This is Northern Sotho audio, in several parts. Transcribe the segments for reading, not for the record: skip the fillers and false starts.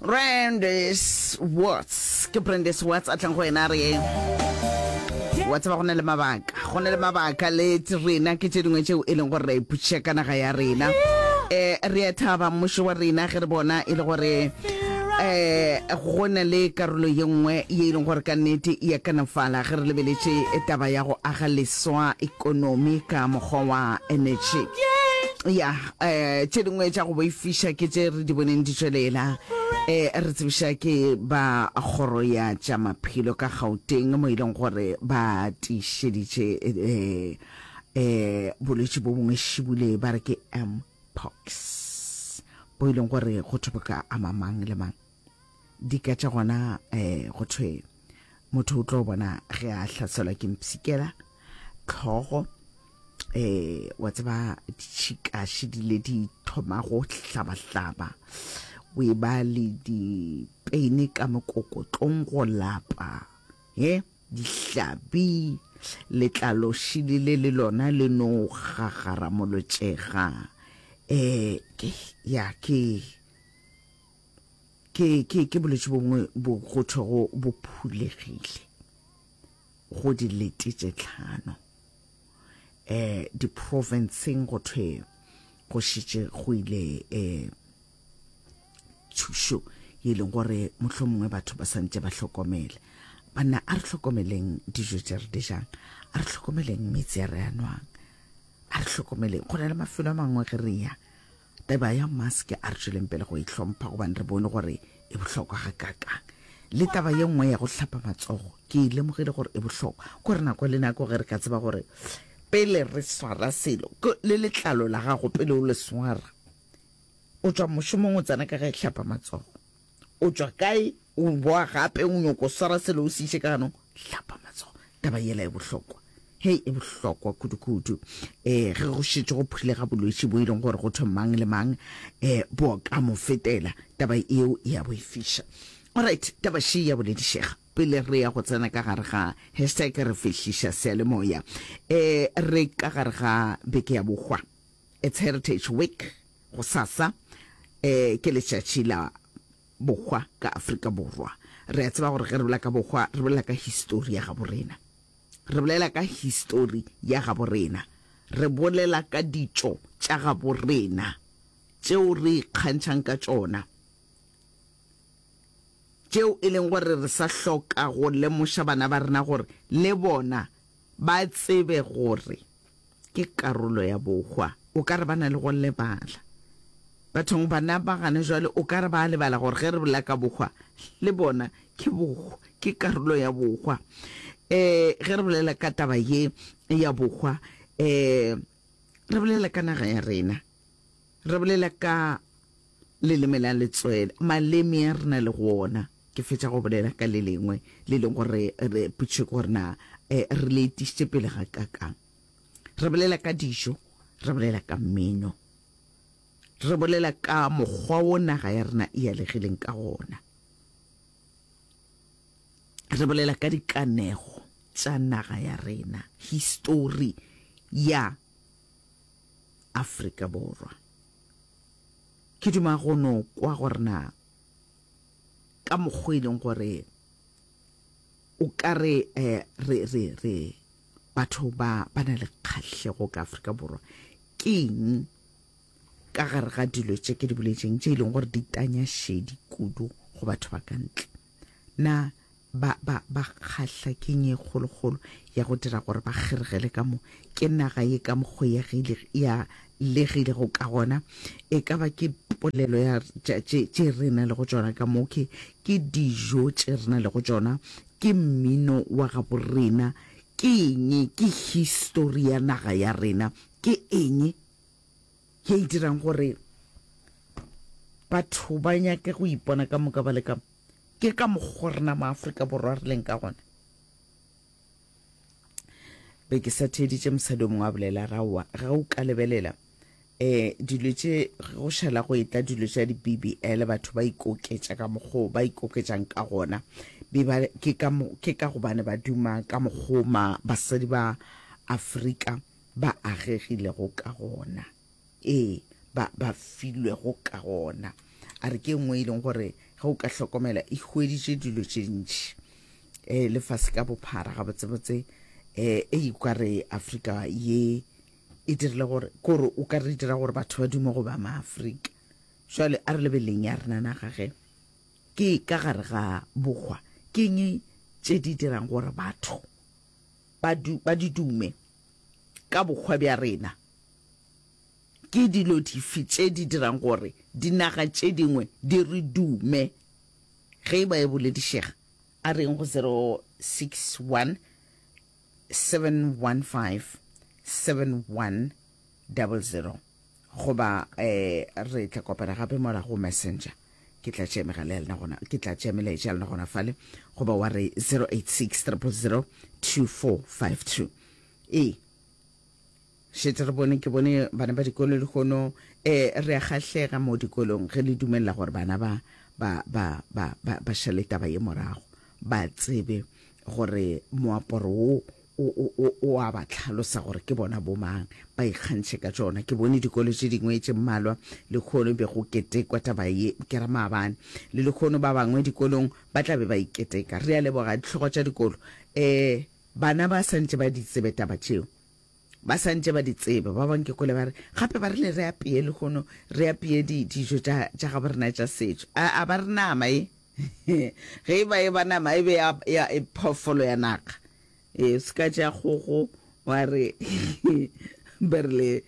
Brandes Watts ke Brandes Watts a tlang go wena a re wa tseba go na le mabaka go na le mabaka le rena ke tše dingwe tšeo e leng gore ra ipotšiša ka naga ya rena um re a thaba mmušo wa rena ge re bona e le gore um go na le karolo ye nngwe ye e leng gore ka nnete ya kanafala ge re lebeletše taba ya go aga leswa ekonomi ka mokgwa wa energy ya um tše dingwe tša go boifiša ke tše re di boneng di tšwelela um re tsebiša ke ba kgoro ya tša maphelo ka Gauteng mo e leng gore ba tiišeditše um um bolwetši bo bongwe šibule ba re ke mpox bo e leng gore go thwe bo ka ama mang le mang. Dika tša gona um go thwe motho o tlo bona ge a hlaselwa ke mpshikela, tlhogo, eh wa tseba ditšhikaši di le di thoma go hlabahlaba o e ba le dipeine ka mokokotlong go lapa he dihlabi letlalo šili le le lona le no gagaramolotšega eh ke ya ke ke ke ke bolwetši bongwe bo go thwego bo phulegile go dilete tše tlhano. Um diprofenseng go thwe go šetše go ile um thušo ye e leng gore mohlomongwe batho ba santše ba hlokomele. Banna a re hlokomeleng dijo tše re di jang, a re hlokomeleng meetse a re a nwang, a re hlokomeleng. Go na le mafelo a mangwe ge re ya Taba ya mask a re tšweleng pele go e hlompha gobane re bone gore e bohlokwa gakaakang. Le taba ye nngwe ya go hlapa matsogo ke e lemogile gore e bohlokwa. Kore nako le nako ge re ka tseba gore pele re swara selo le letlalo la gago pele o le swara, o tšwa mošomong o tsena ka ge hlapa matsogo. O tšwa kae o boa gape o nyoko swara selo o se iše ka ganong, hlapa matsogo. Taba yela e bohlokwa. Hei e bohlokwa kudu-kudu. Um ge go šetše go phulega bolwetši bo e leng gore go thwe mang le mang um bo ka mo fetela, taba eo e a boifiša. Alright, taba še ya boledišega. Pele re ya go tsena ka gare ga hashtag re fehliša seyalemoya, um re ka gare ga beke ya bohwa. It's Heritage Week, gosasa um ke letšatši la bohwa ka Afrika Borwa. Re a tseba gore ge re bolela ka bohwa, re bolela ka histori ya gabo rena. Re bolela ka histori ya gabo rena. Re bolela ka ditšo tša gabo rena tšeo re ikgantšhang ka tšona, tšeo e leng gore re sa hloka go lemoša bana ba rena gore le bona ba tsebe gore ke karolo ya bohwa. O ka re ba na le go lebala. Bathong bana ba gane jwale o ka re ba a lebala gore ge re bolela ka bohwa le bona ke bohwa, ke karolo ya bohwa. Um ge re bolela ka taba ye ya bohwa um re bolela ka naga ya rena, re bolela ka leleme la letswele, maleme a re na le go ona. Ke fetša go bolela ka le lengwe le leng gore re potšišo ke gore na um re le etišitše pele ga kakang. Re bolela ka dijo, re bolela ka mmino, re bolela ka mokgwa wo naga ya rena e alegileng ka gona, re bolela ka dikanego tša naga ya rena, histori ya Afrika Borwa. Ke duma go no kwa gore na ka mokgwa e leng gore o ka re eh, re re re batho ba ba na le kgahlego ka Afrika Borwa ke eng ka gare ga dilo tše ke di boletšeng tše e leng gore di tanya šedi kudu go batho ba ka ntle na ba ba ba kgahla ke eng e kgolokgolo ya go dira gore ba kgeregele ka mo ke naga ye ka mokgo ya gile ya legilego ka gona e ka ba ke polelo ya tše tše re na le go tšona ka mo ke ke dijo tše re na le go tšona Ke mmino wa gabo rena. Ke eng? Ke histori ya naga ya rena. Ke eng ye e dirang gore batho ba nyake go ipona ka moka ba le ka mo? Ke ka mokgo rena Maafrika Borwa re leng ka gona. Be ke sa theeditše mosadi o mongwe a bolela, a re, Aowa, ge o ka lebelela um dilo tše go šala go etla dilo tša di-BBL batho ba ikoketša ka mokgwa ba ikoketšang ka gona be ba ke ka ke ka gobane ba duma ka mokgwa ma basadi ba Afrika ba agegilego ka gona ee ba ba filwego ka gona a re ke nngwe e leng gore Ge o ka hlokomela, e hweditše dilo tše dintši um lefase ka bophara gabotsebotse um e o ka re Afrika ye e dirile gore kore o ka re dira gore batho ba dume go ba maafrika. Jwale a re lebeleleng ya rena naga ge ke ka gare ga bohwa ke eng tše di dirang gore batho ba du, ba di dume ka bohwa bja rena? Ke dilo dife tše di dirang gore dinaga tše dingwe di re dume? Ge e ba e boledišega, a re yeng go 061 715 7100 goba eh, re tla kopana gape mola go Messenger. Ke tla tšea megala ya lena gona, ke tla tšea melaetša ya lena gona fale, goba wa re 086 000 2452. Ee. Šetše re bone, ke bone bana ba dikolo lehono, eh, re a kgahlega mo dikolong ge le dumelela gore bana ba, ba, ba, ba, ba, ba šale taba ye morago, ba tsebe gore moaparo wo o, o, o, o a ba hlalosa gore ke bona bomang, ba ikgantšhe ka tšona. Ke bone dikolo tše dingwe tše mmalwa lehono be go ketekwa taba ye, ke ra maabane, le lehono ba bangwe dikolong ba tla be ba iketeka. Re a leboga dihlogo tša dikolo. Eh, bana ba sa ntše ba di tsebe taba tšeo. Ba sa ntše ba di tseba. Ba bang ke kwele ba re, gape ba rile re apeye lehono, re apeye di, dijo tša, tša gabo rena tša setšo. A, a ba re nama e? Ge e ba e ba nama e be ya, ya e phoofolo ya naga. E, o se ka tšea kgogo wa re ba rile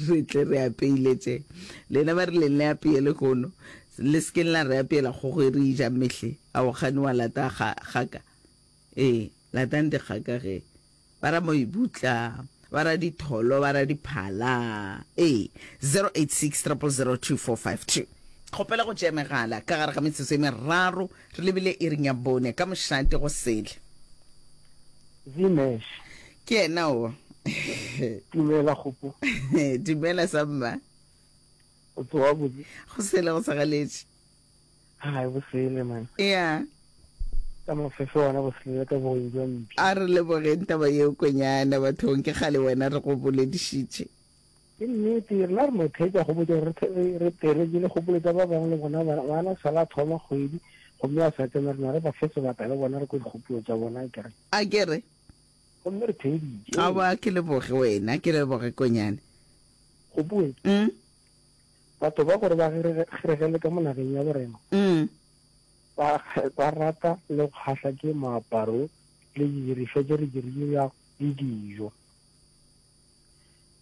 re tle re apeile tše. Lena ba rileng le apeye lehono, le se keng la re apeela kgogo e re e jang mehle. A o kgane wa lata ga, gaka? Ee, latang dikgaka ge. Ba ra moibutla, ba ra ditholo, ba ra diphala. Ee, 086 000 2452. Kgopela go tšea megala ka gare ga metsotso e meraro re lebile iring ya bone ka mošate go sele. Zimesh. Ke yena o. Dumela Kgopo. Dumela samma. O tsoga botse? Go sele go sa galetše. Hai bosele man. Ya. Ka mafefe ona bosele ka bogeng jwa mpša. A re lebogeng taba yeo kwenyana bathong ke kgale wena re go boledišitše. Ke nnete rena re no theetša go botša gore re theeletše le kgopolo tša ba bangwe le bona bana sala thoma kgwedi gomme a sa tsena rena re ba fe sebaka le bona re kwe dikgopolo tša bona a kere. A kere. Gomme re theeditše. Aowa ke leboge wena ke leboge kwenyana. Gopoe. Mm. Batho ba gore ba kgeregele ka mo nageng ya borena ba, ba rata le go kgahla ke moaparo le didirišwa tše re di dirago le dijo.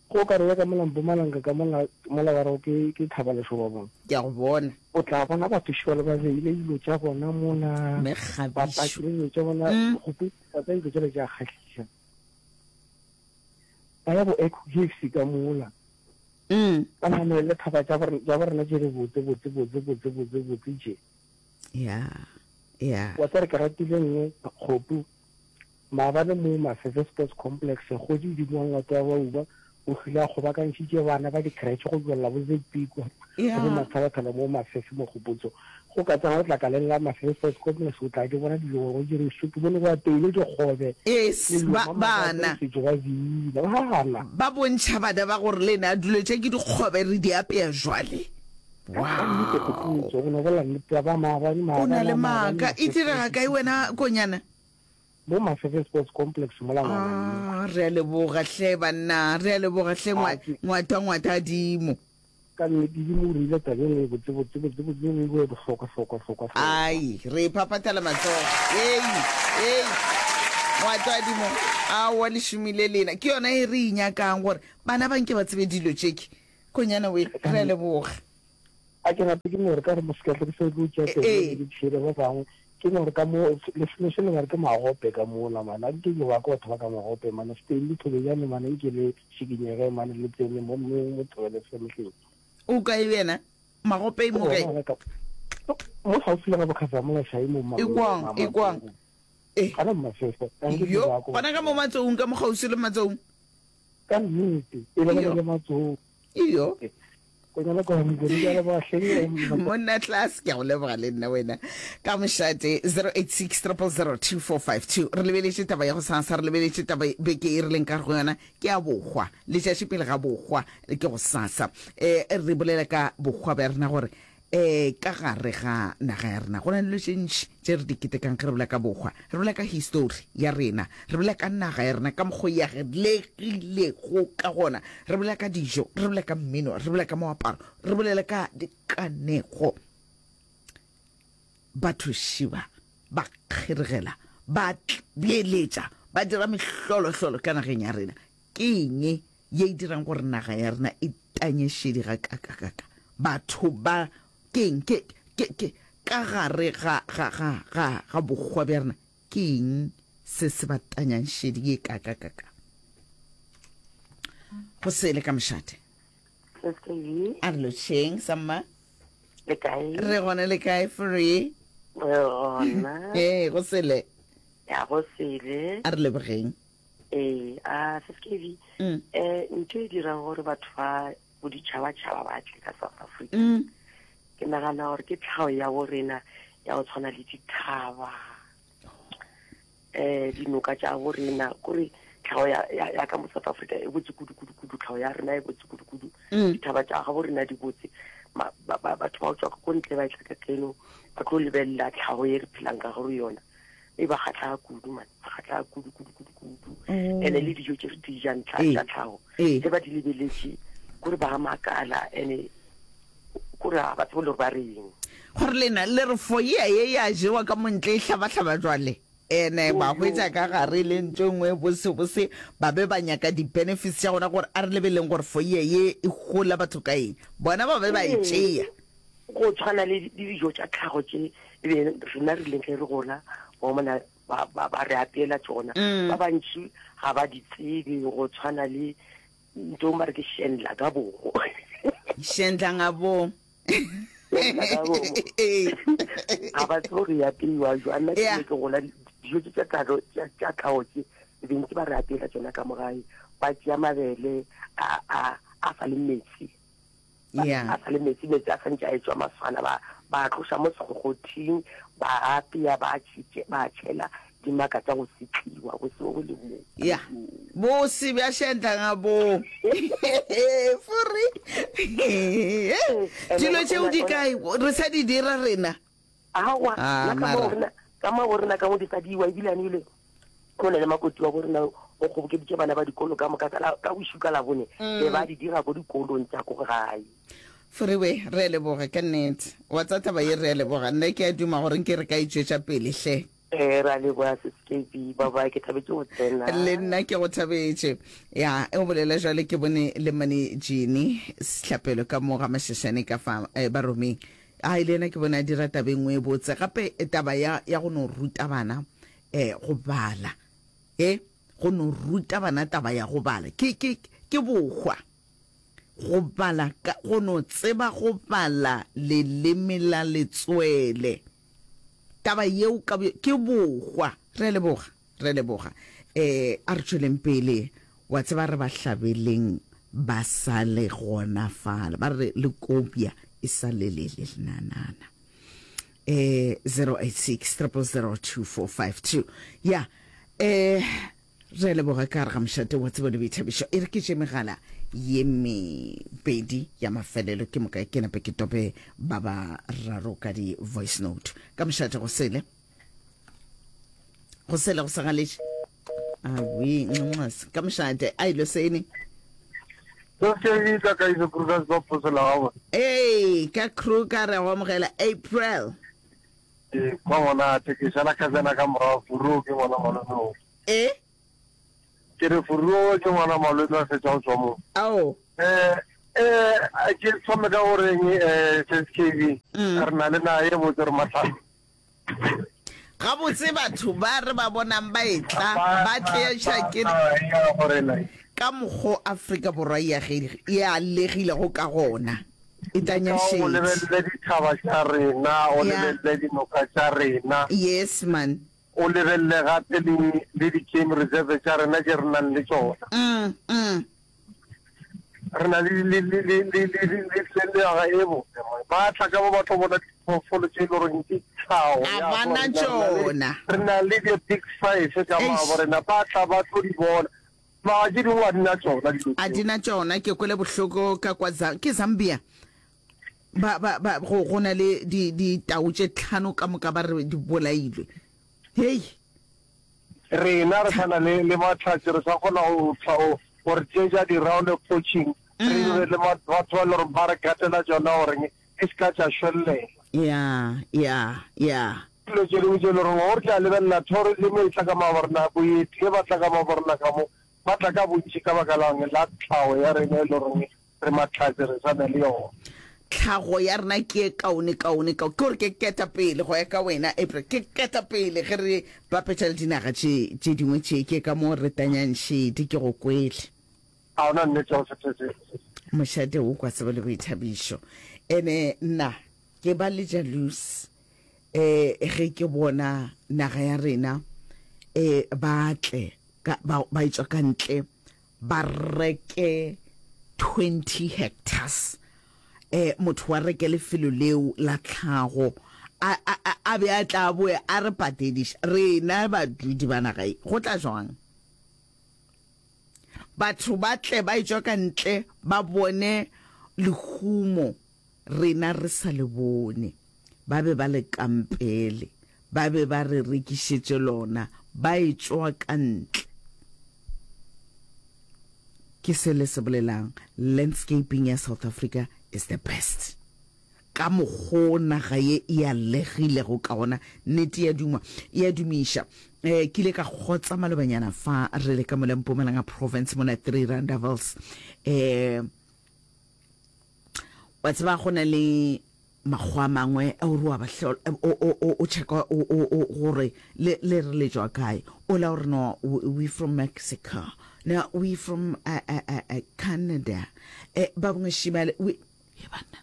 Go ka re ya ka mola Mpumalanga ka mola, mola ba rego ke, ke Thaba Lešoba bona. Ke a go bona. O tla bona batho šole ba beile dilo tša bona mola, ba Mekgabišo. pakile dilo tša bona, go tsa dilo tšela tša kgahliša. Ba ya bo Echo Caves ka mola. Mm. Ba namele thaba tša tša borena tše di botse botse botse botse botse botse tše. Ya. Ya. Wa tsere ke ratile nngwe kgopu maabane mo Mafefe Sports Complex kgodi dimo wa Ngwato wa Bauba o hlile a kgobakantšhitše bana ba di-creche go tšwelela bo ZP kwa Ya. go mathabathaba mo Mafefe mo Kgopotso go ka tsena letlakaleng la Mafefe Sports Complex o tla di bona dijo gore go jerwe soup bone go apeilwe dikgobe Yes, le dilo ba, mama ba bana. setšo ba bina bana. Ba bontšha bana ba gore le na dilo tše ke dikgobe re di apea jwale. Ka nnete Wow. Kgopotso go no bolela nnete ya ba maabane O na maabane le a maabane maaka. E Mafefe direga kae wena Konyana? Mo Mafefe Sports Complex mola ngwana Ah, re a leboga hle banna, re a leboga hle Ah, ngwa, ke- ngwata ngwata adimo. Ka nnete dimo o rile taba e nngwe botse botse botse botse e nngwe e bohlokwa hlokwa hlokwa hlokwa. Ai, re iphaphathela matsogo. Ei, ei. Ngwato adimo, aowa le šomile lena. Ke yona e re e nyakang gore bana ba nke ba tsebe dilo tše ke. Konyana we, re a leboga. A ke gape ke no re ka re mosekahlo ke sa tlo tšea Ee. tsebe ke tšhele ba bangwe ke no re ka mo lefelo se le ba re ke magope ka mola mane a ke ke ba ke batho ba ka magope mane Stanley Thobejane mane nke le šikinyege mane le tsene mo mo mo thobele femehleng. O kae yena? Magope mo kae? Mo gaufi le ga Bokhasamola Shai mo ma. Ekwang, ekwang. Eh. Gana Mafefe. Yo, gona ka mo Matsoung ka mo kgauswi le Matsoung. Ka nnete, e le le Matsoung. Iyo. Konyana kwa Mokone ke a leboga hleng. Monna class ke a go leboga le nna wena ka mošate 086 000 2452 re lebeletše taba ya go sasa re lebeletše taba beke e re leng ka go yona ke ya bohwa letšatši pele ga bohwa ke go sasa um re bolela ka bohwa bja rena gore. Um ka gare ga naga ya rena go na le dilo tše ntši tše re di ketekang ge re bolela ka bohwa. Re bolela ka histori ya rena, re bolela ka naga ya rena ka mokgo e agelegilego ka gona, re bolela ka dijo, re bolela ka mmino, re bolela ka moaparo, re bolela ka dikanego. Batho šiba ba kgeregela, ba beeletša, ba dira mehlolohlolo ka nageng ya rena. Ke eng ye e dirang gore naga ya rena e tanye šedi gakakakaka? Batho ba ke eng? Ke, ke, ke, ka gare ga, ga, ga, ga, ga bokgwa bja rena, ke eng se se ba tanyang šedi ye kakakaka? Go sele ka mošate. SKV. A re lotšheng, samma. Le kae? Re gona le kae, Free? Re gona. Ee, go sele. Ya go sele. A re lebogeng. Ee, a SKV. Mm. Eh, ntho e dirang gore batho ba boditšhabatšhaba ba tle ka South Africa. Mm. Ke nagana gore ke tlhago ya bo rena ya go tshwana le dithaba. Eh, dinoka tša bo rena, kore tlhago ya, ya, ya ka mo South Africa e botse kudu kudu kudu, tlhago ya rena e botse kudu kudu. Mm. Dithaba tša ga bo rena di botse. Ma, ba, ba, batho ba go tšwa ko ntle ba etla ka keno ba tlo lebelela tlhago ye re phelang ka go yona. E ba kgatlha kudu man, ba kgatlha kudu kudu kudu kudu. Oh. Ene le dijo tše re di jang tla Ee. tša tlhago. Ee. Ge ba di lebeletše kore ba makala ene kore ga ba tsebe le gore ba reng. Gore lena le re foyea ye ya jewa ka montle e hlabahlaba jwale ene ba hwetša ka gare le ntho e nngwe bose bose ba be ba nyaka di-benefits tša gona gore a re lebeleng gore foyea ye e hola batho ka eng bona ba be ba e tšea. Go tshwana le le dijo tša tlhago tše e be rena re rileng ge re gola ba mona ba ba ba re apeela tšona. Mm. Ba bantši ga ba di tsebe go tshwana le ntho ba re ke shendla ka bomo. Shendla nga bo. Shendla ka bomo. Ee. Ga ba tsebe gore e apeiwa jwang. Nna ke Yeah. ne ke gola dijo tše tša tlhago tša tša tlhago tše e be ntse ba re apeela tšona ka mo gae. Ba tšea mabele a a a sa le metsi. Yeah. A sa le metsi, metsi a santše a etšwa maswana, ba ba a tloša mo sekgokgothing, ba a apea, ba a tšhitše, ba a tšhela dimaka tša go setliwa, bose bo bo le moo. Ya, bose bja šentla bo. Furi. Dilo tšeo di kae? Re sa di dira rena. Aowa, Ah, nna ka mo mara. rena, ka mo go rena ka mo di sa diwa, ebile ane ebile go na le makoti wa bo rena o kgobokeditše bana ba dikolo ka moka ka la, ka bošu ka Labone, be ba di dira ko dikolong tša ko gae. Furiwe, re a leboga ka nnete. Wa tsa taba ye re a leboga. Nna ke a duma gore nke re ka e tšwetša pele hle. Ee, re a leboga Sis KB. Bye bye, ke thabetše go tsena. Le nna ke go thabetše. Ya, e o bolela jwale ke bone le mane Jeannie Sehlapelo ka mo ga Mashashane ka fa eh, Baromeng. Ai, le yena ke bone a dira taba e nngwe e botse. Gape taba ya, ya go no ruta bana eh, go bala, e, go no ruta bana taba ya go bala, ke, ke, ke bohwa. Go bala, ka, go no tseba go bala leleme la letswele. Taba yeo ka bo, ke bohwa. Re a leboga, re a leboga. Eh, a re tšweleng pele. Wa tseba re ba hlabeleng ba sa le gona fale. Ba re le kopya e sa le le le lenanana. Eh, 086 000 2452. Ya, eh, re a leboga ka gare ga mošate wa tsebo le boithabišo. E re ke tše megala ye mebedi ya mafelelo ke moka ke nape ke tope ba ba raro ka di voice note. Ka mošate go sele. Go sele go sagaletše. Awi, nxas, ka mošate, a ilo sene. Ke ka ka iso Kruger ba phosela ga bona. Ee, ka Kruger re go amogela April. Ke kwa monate ke šala ka tsena ka morago Furoo ke ngwana malome o. E? Ke re Furoo ke ngwana malome a fetša go tswa mo. Ao. Eh eh ke thome ka goreng eh SKB mm. re na le naga ye botse re matlhano. Gabotse batho ba re ba bonang ba etla ba tleša ke ka mokgo Afrika Borwa e e alegilego ka gona. E tanya O šedi. lebelele dithaba tša rena, o lebelele dinoka tša rena. Yes man. O lebelele gape le le di-game reserve tša rena tše re nang le tšona. Mm, mm. Re na le le le le le le le le le naga e botse mo. Ba tla ka mo ba tlo bona diphoofolo tše e le goreng ke tlhago A ya ba na bo rena. Re na le tšona. re na le the big five ka Eish. mo rena. Ba tla ba tlo di bona. Naga tše dingwe ga di na tšona dilo A tšeo. di na tšona. Ke kwele bohloko ka kwa Za-, ke Zambia. Ba, ba, ba, go, go na le di, ditau tše tlhano ka moka ba re di bolailwe. Hei! Rena re sa na le, le mahlatse, re sa kgona go, go, gore tše tša di-round of poaching, re be le batho ba e le gore ba re gatela tšona gore e se ka tša šwellela. Ya, ya, ya. Dilo tše dingwe tše e le gore gore tla lebelela tourism e tla ka maborena, boeti ge ba tla ka maborena ka mo, ba tla ka bontši ka baka lang la tlhago ya rena e le goreng re mahlatse re sa na le yona. Tlhago ya rena ke e kaone kaone kao ke gore ke ketapele go ya ka wena April ke ketapele ge re bapetša le dinaga tše tše dingwe tše ke ka mo re tanyang šedi ke go kwele. A ona nnete ya go se se. Mošate o kwa tsebo le boithabišo ene nna ke ba le jealous eh ge ke bona naga ya rena eh ba tle ka ba ba etšwa ka ntle ba reke 20 hectares eh motho wa reke lefelo leo la tlhago a a a be a tla boe a re patediša rena badudi ba naga e go tla jwang batho ba tle ba etšwa ka ntle ba bone lehumo rena re sa le bone ba be ba le kampele Ba be ba re rekišetše lona ba etšwa ka ntle. Ke se le se bolelang, landscaping ya South Africa is the best. Ka mokgo naga ye e alegilego ka gona, nnete ya duma, e a dumiša. Eh, ke ile ka kgotsa malobanyana fa re le ka mola Mpumalanga province mona Three Rondavels. Eh, wa tseba go na le Makgowa a mangwe o re wa ba hlola, o, o, o, o checka o, o, o, gore le, le re le tšwa kae. Ola o re no, we from Mexico. No, we from uh, uh, uh, uh, Canada. Eh, ba bangwe šimale, we, he banna.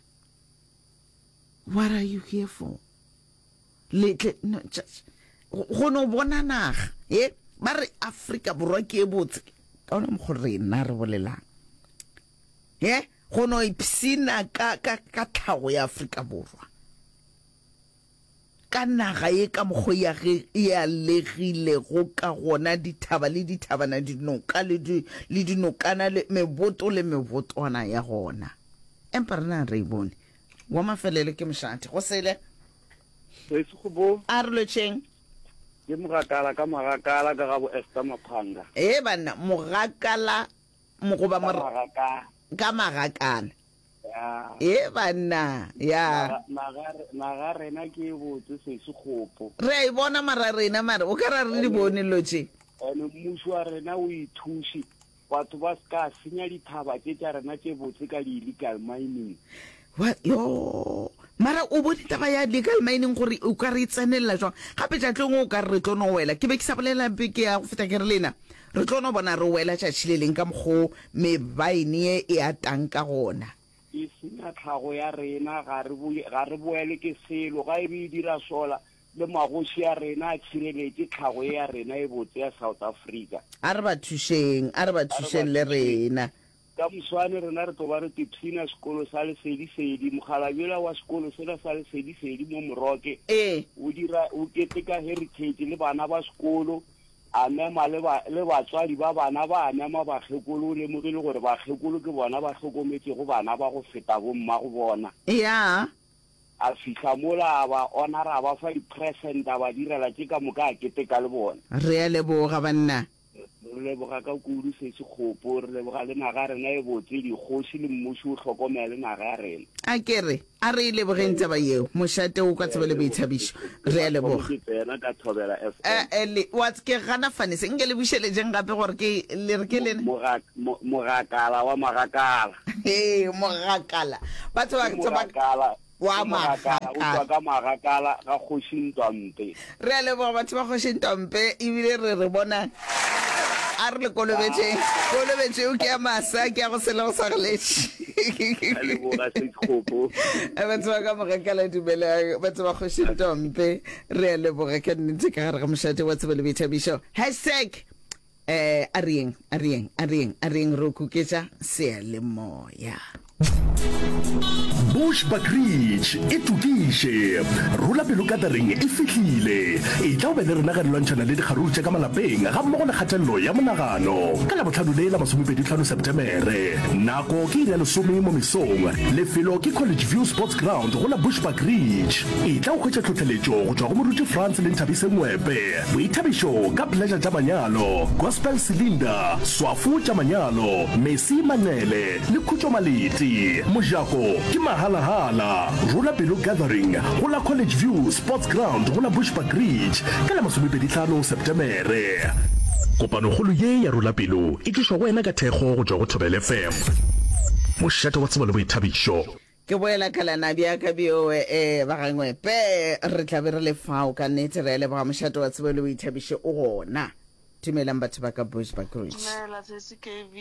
What are you here for? Le tle, no, just, go no bona naga. Ye, ba re Afrika Borwa ke e botse. Ka ona mokgwa rena re bolelang. Ye, Go no ipshina ka, ka, ka tlhago ya Afrika Borwa, ka naga ye ka mokgo ya ge e alegilego ka gona, dithaba le dithabana, dinoka le, di, le dinokana, le meboto le mebotwana ya gona. Empa rena re e bone. Wa mafelelo ke mošate. Go sele. Sesi go bo. A re lotšheng. Ke mogakala ka magakala ka ga bo Esther Maphanga. Ee banna, mogakala goba Ka magakana. Ka magakana. Ya. Ee banna, ya. Naga, naga, naga rena ke e botse sesi kgopo. Re a e bona mara rena mara o ka ra re di bone dilo tše. Ene mmušo wa rena o ithuše batho ba se ka senya dithaba tše tša rena tše botse ka di illegal mining. Wa, yo. Mara o bone taba ya legal mining gore o ka re e tsenelela jwang? Gape tšatleng o ka re re tlo no wela. Ke be ke sa bolela beke ya go feta ke re lena re tlo no bona re wela tšatši le leng ka mokgo mebaene ye e atang ka gona. E senya tlhago ya rena, ga re boe, ga re boelwe ke selo. Ga e be e dira sola, le magoši a rena a tšhireletše tlhago ye ya rena e botse ya South Africa. A re ba thušeng, a re ba A re ba thušeng le thušeng. rena. Ka moswane rena re tlo ba re tipshina sekolo sa Lesedisedi. Mokgalabje yola wa sekolo sela sa Lesedisedi mo Moroke Ee. o dira o keteka Heritage le bana ba sekolo, a mema le ba le batswadi ba bana ba, a mema bakgekolo. O lemogile gore bakgekolo ke bona ba hlokometšego bana ba go feta bommago bona. Ya. A fihla mola a ba honora, a ba fa di-present, a ba direla tše ka moka, a keteka le bona. Re a leboga banna. Re leboga ka kudu Sesi Kgopo, re leboga le naga ya rena e botse, dikgoši le mmuši o hlokomele naga ya rena. A ke re, a re e lebogeng taba yeo, mošate o kwa tsebo le boithabišo. Re a leboga. Ke tsena ka Thobela FM. Eh, eh, le, wa, ke gana fane se, nke le bušeletšeng gape gore ke, le re ke lena. Mo, mogakala wa magakala. Ee, mogakala. Batho ba, Ke mogakala. Wa Ke mogakala, o tšwa ka magakala ga Kgoši Ntwampe. Re a leboga batho ba Kgoši Ntwampe, ebile re re bona a re le kolobetšeng. Kolobetšo eo ke ya masa, ke ya go sele go sa goletše. Re leboga Sekgopo. Batho ba ka mogakala dumelang, batho ba Kgoši Ntwampe, re a leboga ka nnete ka gare ga mošate wa tsebo le boithabišo. Hashtag Eh, a re yeng, a re yeng, a re yeng, a re yeng re o kuketša seyalemoya. Bushbuckridge e tokiše. Rola pelo gathering e fihlile. Etla o be le rena ge re lwantšhana le dikgaruru tša ka malapeng gammogo le kgatelelo ya monagano. Ka Labohlano le la masomepedihlano Setemere. Nako ke iri ya lesome mo mesong. Lefelo ke College View Sports Ground go la Bushbuckridge. Etla o hwetše tlhohleletšo go tšwa go Moruti Frans le Nthabise Ngwepe. Boithabišo ka Pleasure tša manyalo, Gospel Cylinder, Swafo tša manyalo, Mercy Manqele le Khutšo Malete. Mojako ke mahalahala. Rola Pelo Gathering go la College View Sports Ground go la Bushbuckridge ka la masomepedihlano Setemere. Kopanokgolo ye ya Rola Pelo e tlišwa go wena ka thekgo go tšwa go Thobela FM, mošate wa tsebo le boithabišo. Ke boela ka lana bjaka bjoe e ba gangwe pe re tla be re le fao ka nnete re a leboga mošate wa tsebo le boithabišo o gona. Dumelang batho ba ka Bushbuckridge. Dumela sesi KB.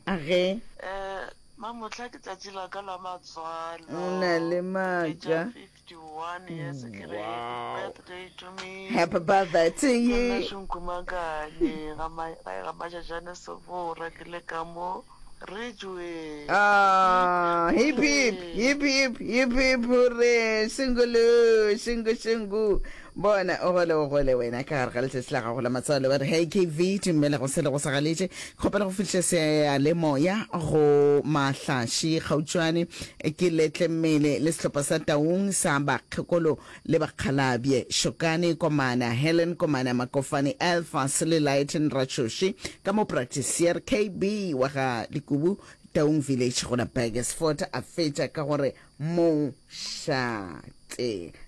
A ge. Eh mamohla ke tšatši la ka la matswalo. O na le maaka. Ke 51 years ke re happy birthday to me. Happy birthday to you. Ke nna Šunkumakane ga ma ga Mašašane Sebora ke le ka mo Ridgeway. Ah, hip hip hip hip hip hip hore shingulu shingu shingu bona o gole o gole wena ka gare ga letšatši la gago la matswalo ba re hey kv dumela go sele go sa galetše kgopela go fihliša seyalemoya go mahlaši kgautšwane ke letle mmele le sehlopha sa taung sa bakgekolo le bakgalabje Shokane Komana, Helen Komana, Makofane Elfas le Lighton Ratšhoši ka mo Practiceer KB wa ga Lekubu Taung Village go la Burgersfort a fetša ka gore mošate.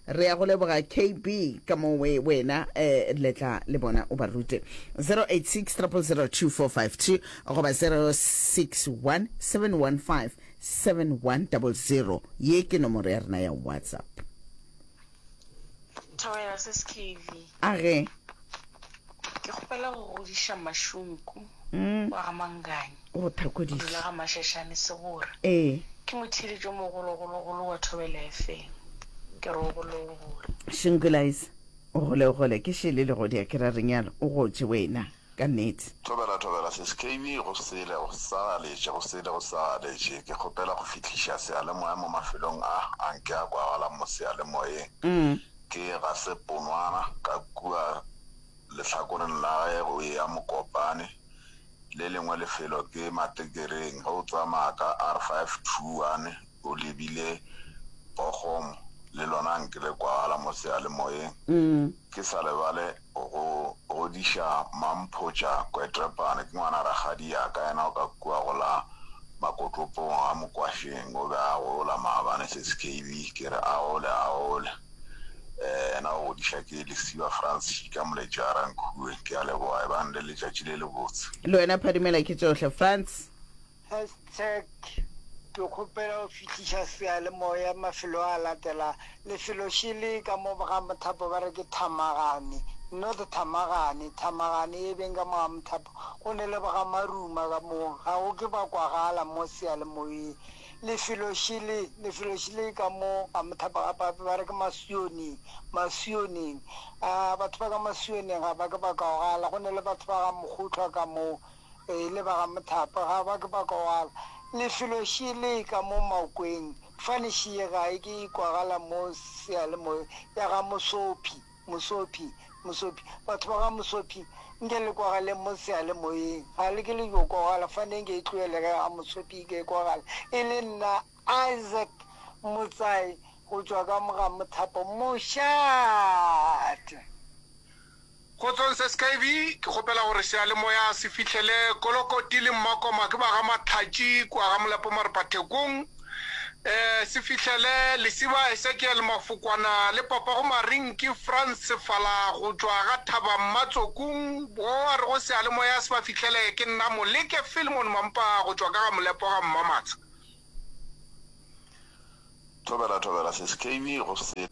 Re ya go leboga KB ka mo we wena eh, letla le bona o ba rute 086 000 2452 goba 061 715 7100 ye ke nomoro ya rena ya whatsapp. Thobela sis KV. A ge. Ke kgopela go godiša Mashunku wa ga Manganye. Go thakodiša. O dula ga Mashashane Sebora. Ee. Ke motheeletši o mogologologolo wa Thobela FM. Ke re o gole o gole. Shinkulais o gole o gole ke šele legodi a ke ra renyalo o gotše wena. Ka nnete. Thobela thobela sis KB go sele go sa galetše go sele go sa galetše ke kgopela go fihliša seyalemoya mo mafelong a a nke a kwagalang mo seyalemoyeng ke ga se ponwana ka kua lehlakoreng la ge go eya Mokopane le lengwe lefelo ke Matekereng ge o tsamaya ka R521 o lebile Bochum le lona nke le kwagala mo seyalemoyeng ke sa lebale Go godiša Mamphotša Kwetrepane ke ngwana rakgadi ya ka, yena o ka kua go la Makotlopong a Mokwašeng, o be a gola maabane sesi KB, ke re a gole a gole. Yena o godiša ke Lesiba Frans Šika Moletši a Rankhue. Ke a leboga, ebang le letšatši le lebotse. Le wena phadimela ke tšohle Frans. Hashtag Ke kgopela go fihliša seyalemoya mafelo a latela, Lefelo šele ka mo ga Mothapo ba re ke Thamagane, North Thamagane, Thamagane e beng ka mo ga Mothapo, go ne le ga Maruma ka mo, ga go ke ba kwagala mo seyalemoyeng. Lefelo šele, lefelo šele ka mo ga Mothapo gape gape ba re ke Masioneng, Masioneng. A batho ba ka Masioneng ga ba ke ba kwagala, go ne le batho ba ga Mokgohlwa ka mo. E le ba ga Mothapo ga ba ke ba kwagala. Lefelo šele ka mo Makweng, fane šie ga e ke e kwagala mo seyalemoyeng ya ga Mosophi, Mosophi, Mosophi. Batho ba ga Mosophi nke le kwagaleng mo seyalemoyeng, ga le ke le yo kwagala, fane nke e tlohele ge ga Mosophi e ke e kwagala. E le nna Isaac Motsai go tšwa ka mo ga Mothapo, mošate. Kgotsong SKV, ke kgopela gore seyalemoya se fihlele Kolokoti le Mmakoma ke ba ga Matlhatši kua ga Molapo Marepathekong. Eh, se fihlele Lesiba Esekiel Mafokwana le papago Marinki Frans Sefala go tšwa ga Thaba Mmatsokung. Bo a rego seyalemoya se ba fihlele ke nna Moleke Philemon Mampa go tšwa ka ga Molepo ga Mmamatsha. Thobela thobela sis KB go se.